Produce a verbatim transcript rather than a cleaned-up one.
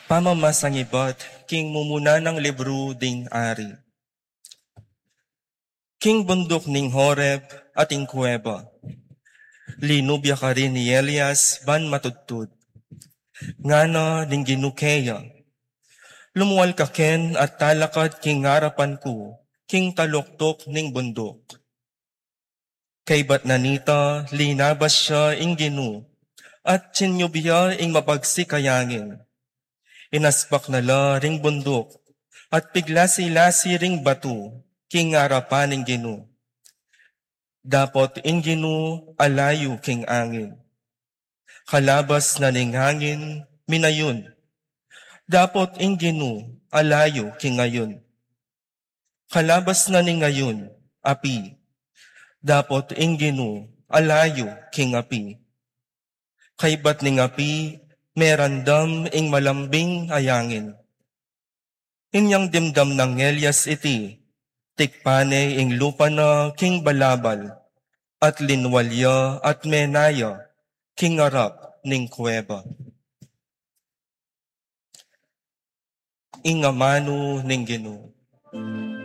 Pamamasang ibat king mumuna nang libru ding ari. King bunduk ning Horeb at ing kuweba, linubya karin i Elias ban matudtud. Ngana ning Ginu keya, "Lumual ka ken at talakad king arapan ku king taluktuk ning bunduk." Kaybat na nita, linabas ya ing Ginu, at tsinyub ya ing mabagsik a yangin. Inaspak na la ring bunduk, at piglasi-lasi ring batu king arapan ning Ginu. Dapot ing Ginu alayu king angin. Kalabas na ning angin, minayun. Dapot ing Ginu alayu king ayun. Kalabas na ning ayun, api. Dapot ing Ginu alayu king api. Kaybat ning api, merandam ing malambing a yangin. Inyang dimdam nang Elias iti, tikpan ne ing lupa na king balabal, at linwal ya at mena ya king arap ning kuweba. Ing amanu ning Ginu.